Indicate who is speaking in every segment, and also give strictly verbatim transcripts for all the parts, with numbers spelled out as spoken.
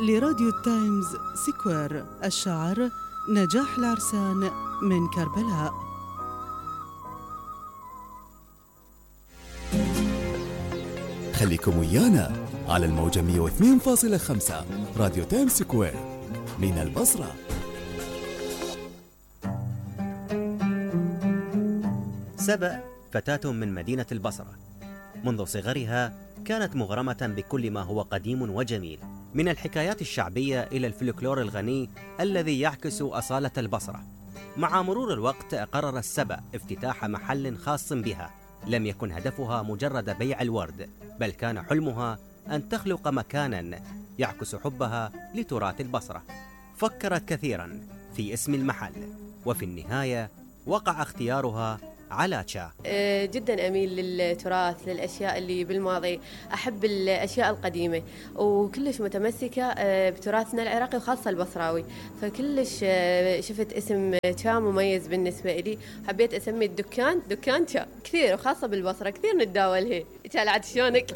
Speaker 1: لراديو التايمز سكوير. الشعر نجاح العرسان من كربلاء.
Speaker 2: خليكم ويانا على الموجة مية واثنين فاصلة خمسة راديو تايمز سكوير من البصرة.
Speaker 3: سبأ فتاة من مدينة البصرة. منذ صغرها كانت مغرمة بكل ما هو قديم وجميل، من الحكايات الشعبية إلى الفلكلور الغني الذي يعكس أصالة البصرة. مع مرور الوقت قرر السبأ افتتاح محل خاص بها. لم يكن هدفها مجرد بيع الورد، بل كان حلمها أن تخلق مكاناً يعكس حبها لتراث البصرة. فكرت كثيراً في اسم المحل، وفي النهاية وقع اختيارها على تشا.
Speaker 4: جدا أميل للتراث، للأشياء اللي بالماضي، أحب الأشياء القديمة، وكلش متمسكة بتراثنا العراقي وخاصة البصراوي. فكلش شفت اسم تشا مميز بالنسبة لي، حبيت أسمي الدكان دكان تشا. كثير وخاصة بالبصرة كثير نتداولها. تشا شلونك؟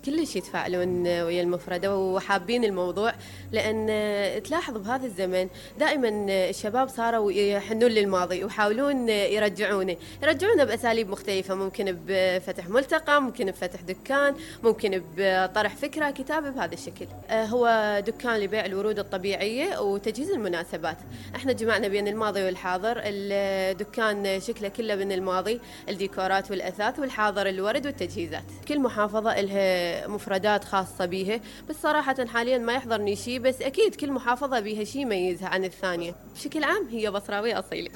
Speaker 4: كلش يتفاعلون ويا المفردة وحابين الموضوع، لأن تلاحظ بهذا الزمن دائما الشباب صاروا يحنون للماضي ويحاولون يرجعونه يرجعونه بأساليب مختلفة، ممكن بفتح ملتقى، ممكن بفتح دكان، ممكن بطرح فكرة كتابة بهذا الشكل. هو دكان لبيع الورود الطبيعية وتجهيز المناسبات. احنا جمعنا بين الماضي والحاضر. الدكان شكله كله من الماضي، الديكورات والأثاث، والحاضر الورد والتجهيزات. كل محافظة لها مفردات خاصة بيها، بس صراحة حاليا ما يحضرني شيء، بس أكيد كل محافظة بيها شيء يميزها عن الثانية. بشكل عام هي بصراوية أصيلة.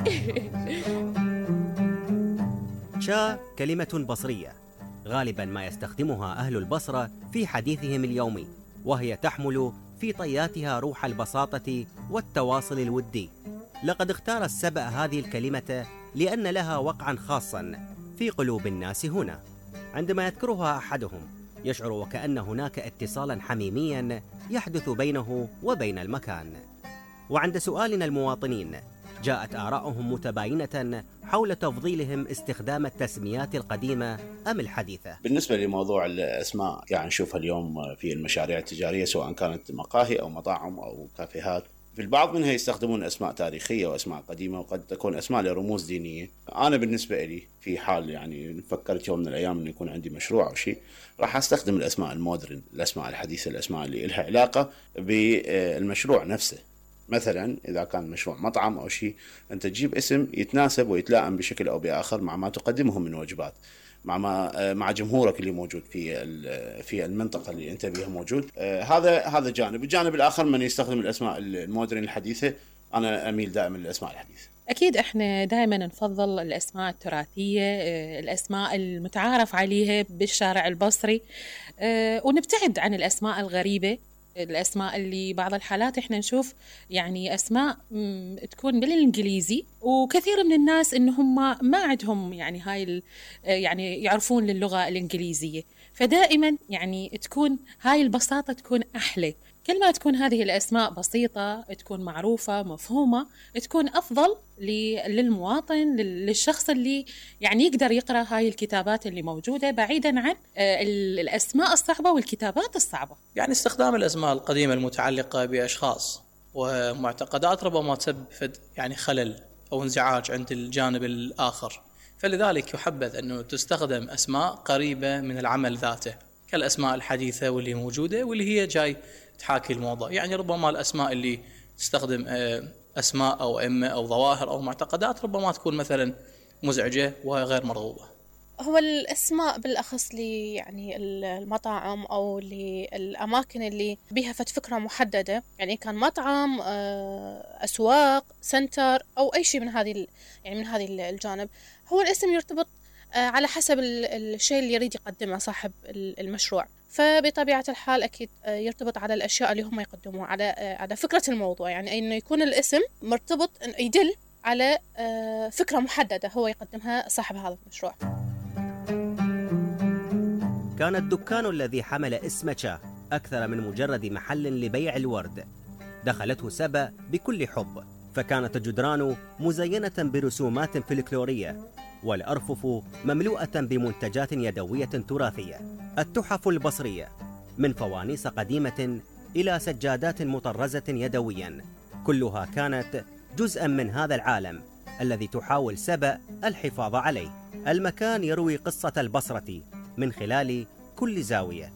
Speaker 3: تشا كلمة بصرية غالبا ما يستخدمها أهل البصرة في حديثهم اليومي، وهي تحمل في طياتها روح البساطة والتواصل الودي. لقد اختار السبأ هذه الكلمة لأن لها وقعا خاصا في قلوب الناس هنا. عندما يذكرها أحدهم يشعر وكأن هناك اتصالا حميميا يحدث بينه وبين المكان. وعند سؤالنا المواطنين جاءت آراؤهم متباينة حول تفضيلهم استخدام التسميات القديمة أم الحديثة.
Speaker 5: بالنسبة لموضوع الأسماء، يعني نشوفها اليوم في المشاريع التجارية، سواء كانت مقاهي أو مطاعم أو كافيهات، في البعض منها يستخدمون أسماء تاريخية وأسماء قديمة، وقد تكون أسماء لرموز دينية. أنا بالنسبة لي في حال يعني فكرت يوم من الأيام أن يكون عندي مشروع أو شيء، راح أستخدم الأسماء المودرن، الأسماء الحديثة، الأسماء اللي لها علاقة بالمشروع نفسه. مثلا إذا كان مشروع مطعم أو شيء، أنت تجيب اسم يتناسب ويتلائم بشكل أو بآخر مع ما تقدمه من وجبات، مع ما مع جمهورك اللي موجود في في المنطقة اللي أنت بيها موجود. هذا هذا جانب. الجانب الآخر من يستخدم الأسماء المودرن الحديثة، أنا أميل دائما للأسماء الحديثة.
Speaker 6: أكيد إحنا دائما نفضل الأسماء التراثية، الأسماء المتعارف عليها بالشارع البصري، ونبتعد عن الأسماء الغريبة، الأسماء اللي بعض الحالات إحنا نشوف يعني أسماء تكون بالإنجليزي، وكثير من الناس إنهم ما, ما عندهم يعني هاي يعني يعرفون للغة الإنجليزية. فدائما يعني تكون هاي البساطة تكون أحلى. كل ما تكون هذه الأسماء بسيطة، تكون معروفة مفهومة، تكون أفضل للمواطن، للشخص اللي يعني يقدر يقرأ هاي الكتابات اللي موجودة، بعيدا عن الأسماء الصعبة والكتابات الصعبة.
Speaker 7: يعني استخدام الأسماء القديمة المتعلقة بأشخاص ومعتقدات ربما تسبب يعني خلل أو انزعاج عند الجانب الآخر، فلذلك يحبذ أنه تستخدم أسماء قريبة من العمل ذاته، كالأسماء الحديثة واللي موجودة واللي هي جاي تحاكي الموضوع. يعني ربما الأسماء اللي تستخدم أسماء أو أئمة أو ظواهر أو معتقدات ربما تكون مثلا مزعجة وغير مرغوبة.
Speaker 8: هو الأسماء بالأخص لي يعني المطاعم أو للأماكن اللي بيها فت فكرة محددة، يعني كان مطعم، أسواق، سنتر أو أي شيء من هذه يعني من هذه الجانب، هو الاسم يرتبط على حسب الشيء اللي يريد يقدمه صاحب المشروع. فبطبيعة الحال أكيد يرتبط على الأشياء اللي هم يقدموها، على على فكرة الموضوع، يعني إنه يكون الاسم مرتبط يدل على فكرة محددة هو يقدمها صاحب هذا المشروع.
Speaker 3: كان الدكان الذي حمل اسم تشا أكثر من مجرد محل لبيع الورد. دخلته سبأ بكل حب، فكانت الجدران مزينة برسومات فلكلورية، والأرفف مملوءة بمنتجات يدوية تراثية. التحف البصرية من فوانيس قديمة إلى سجادات مطرزة يدوياً، كلها كانت جزءاً من هذا العالم الذي تحاول سبأ الحفاظ عليه. المكان يروي قصة البصرة من خلال كل زاوية،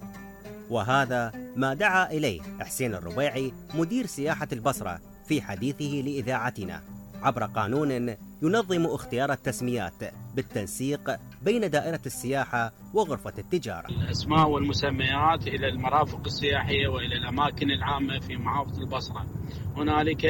Speaker 3: وهذا ما دعا إليه حسين الربيعي مدير سياحة البصرة في حديثه لإذاعتنا عبر قانون ينظم اختيار التسميات بالتنسيق بين دائرة السياحة وغرفة التجارة.
Speaker 9: الأسماء والمسميات إلى المرافق السياحية وإلى الأماكن العامة في محافظة البصرة. هنالك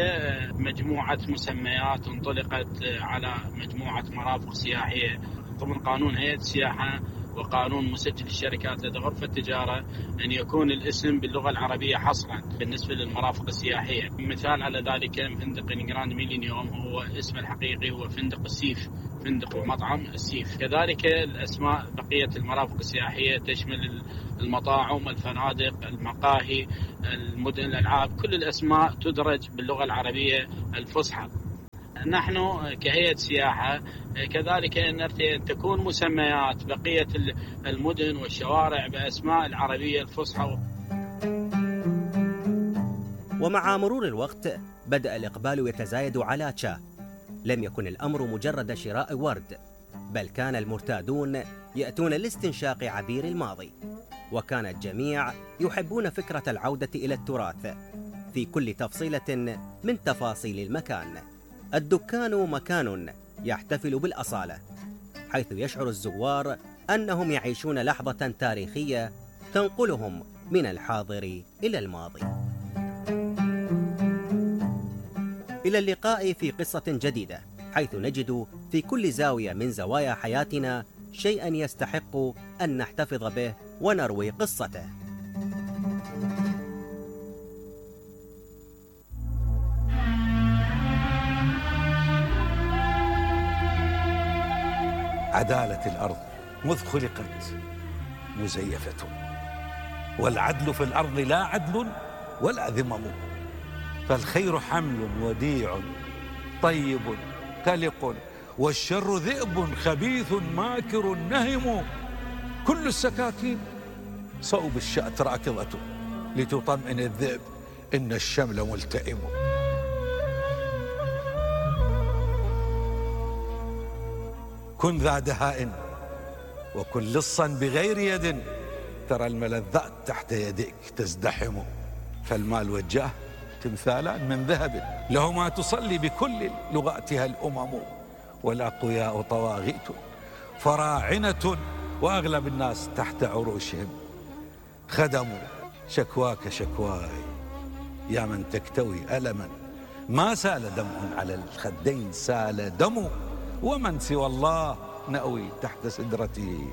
Speaker 9: مجموعة مسميات انطلقت على مجموعة مرافق سياحية ضمن قانون هيئة السياحة وقانون مسجل الشركات لدى غرفة التجارة، أن يكون الاسم باللغة العربية حصرا بالنسبة للمرافق السياحية. مثال على ذلك فندق جراند ميلينيوم هو اسم الحقيقي هو فندق السيف، فندق ومطعم السيف. كذلك الأسماء بقية المرافق السياحية تشمل المطاعم، الفنادق، المقاهي، المدن، الألعاب، كل الأسماء تدرج باللغة العربية الفصحى. نحن كهيئة سياحة كذلك نرتئي أن تكون مسميات بقية المدن والشوارع بأسماء العربية الفصحى.
Speaker 3: ومع مرور الوقت بدأ الإقبال يتزايد على تشا. لم يكن الأمر مجرد شراء ورد، بل كان المرتادون يأتون لاستنشاق عبير الماضي، وكان الجميع يحبون فكرة العودة إلى التراث في كل تفصيلة من تفاصيل المكان. الدكان مكان يحتفل بالأصالة، حيث يشعر الزوار أنهم يعيشون لحظة تاريخية تنقلهم من الحاضر إلى الماضي. إلى اللقاء في قصة جديدة، حيث نجد في كل زاوية من زوايا حياتنا شيئا يستحق أن نحتفظ به ونروي قصته.
Speaker 10: عدالة الأرض مذ خلقت مزيفة، والعدل في الأرض لا عدل ولا ذمم، فالخير حمل وديع طيب كلق، والشر ذئب خبيث ماكر نهم، كل السكاكين صوب الشأت راكضة، لتطمئن الذئب إن الشمل ملتئم. كن ذا دهاء وكن لصا بغير يد، ترى الملذات تحت يديك تزدحم، فالمال والجاه تمثالان من ذهب، لهما تصلي بكل لغاتها الأمم، والأقوياء طواغيت فراعنة، وأغلب الناس تحت عروشهم خدموا. شكواك شكواي يا من تكتوي ألما، ما سال دمع على الخدين سال دم، ومن سوى الله نأوي تحت سدرته،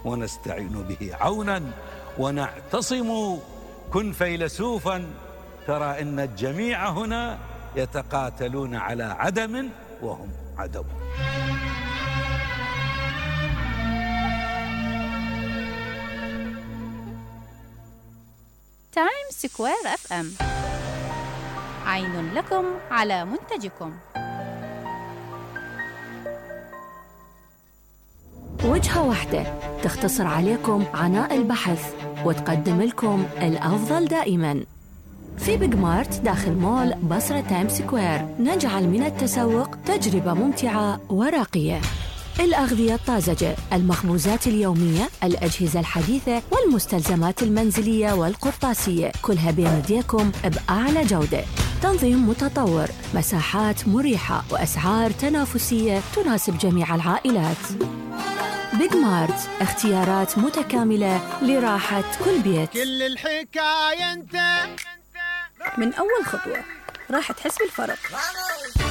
Speaker 10: ونستعين به عونا ونعتصم. كن فيلسوفا ترى إن الجميع هنا يتقاتلون على عدم وهم عدم.
Speaker 11: تايم سكوير اف ام، عين لكم على منتجكم.
Speaker 12: وجهة واحدة تختصر عليكم عناء البحث وتقدم لكم الأفضل دائماً. في بيج مارت داخل مول بصرة تايم سكوير نجعل من التسوق تجربة ممتعة وراقية. الأغذية الطازجة، المخبوزات اليومية، الأجهزة الحديثة والمستلزمات المنزلية والقرطاسية، كلها بين يديكم بأعلى جودة. تنظيم متطور، مساحات مريحة وأسعار تنافسية تناسب جميع العائلات. بيج مارت، اختيارات متكاملة لراحة كل بيت.
Speaker 13: كل الحكاية انت
Speaker 14: من أول خطوة راح تحس بالفرق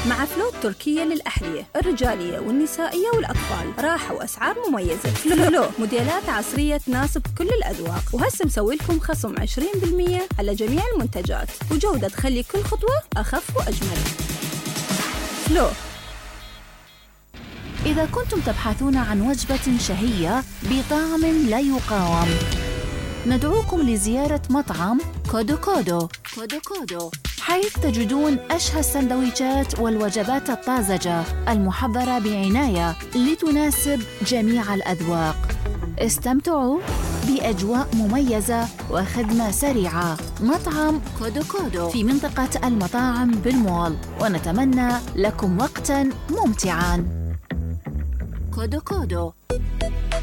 Speaker 14: مع فلوت تركية للأحذية الرجالية والنسائية والأطفال. راحة وأسعار مميزة. فلو موديلات عصرية تناسب كل الأذواق، وهسه مسوي لكم خصم عشرين بالمية على جميع المنتجات، وجودة تخلي كل خطوة أخف وأجمل. فلو.
Speaker 12: إذا كنتم تبحثون عن وجبة شهية بطعم لا يقاوم، ندعوكم لزيارة مطعم كودو كودو كودو كودو، حيث تجدون أشهى السندويشات والوجبات الطازجة المحضرة بعناية لتناسب جميع الأذواق. استمتعوا
Speaker 15: بأجواء مميزة وخدمة سريعة. مطعم كودو كودو في منطقة المطاعم بالمول، ونتمنى لكم وقتاً ممتعاً. كودو كودو.